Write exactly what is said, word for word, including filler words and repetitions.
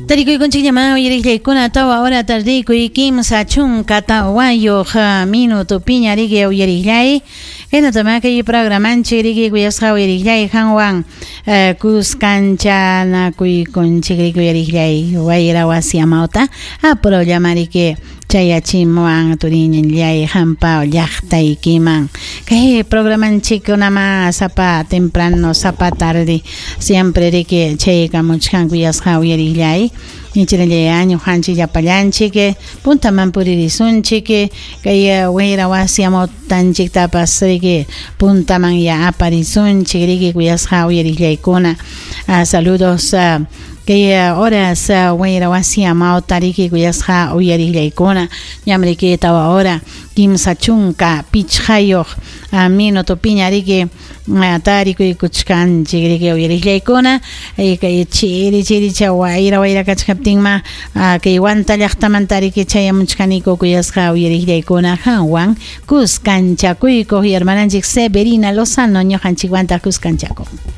Tarikuykunchikllaman uyariqllaykuna tawa hora tardikuy kimsa chunka tawayuq minuto piña riki uyariqllay kaynatama kay programanchik riki kuyasqa uyariqllay qanwan kuskanchakunchik riki uyariqllay wayra wasi amawta apurawllama riki chayachimuwan turiñillay qampa llaqtaykiman kay programanchikkunama sapa temprano sapa tarde siempre riki chaykamuchkan kuyasqa uyariqllay Nichirallay ñuqanchik llapallanchik puntaman puririsunchik kay wayra wasi amawtanchiktapas riki puntaman ya aparisunchik riki kuyasqa uyariqllaykuna. Saludos kay horas wayra wasi amawta riki kuyasqa uyariqllaykuna ñam riki tawa hora kimsa chunka pichqayuq minuto piña riki tarikuykuchkanchik riki uyariqllaykuna kay chiri chiricha wayra wayra kachkaptinma kay Huanta llaqtamanta riki chayamuchkaniku kuyasqa uyariqllaykuna qanwan kuskanchakuykuq hermananchik Severina Lozano ñuqanchikwanta kuskanchakuq.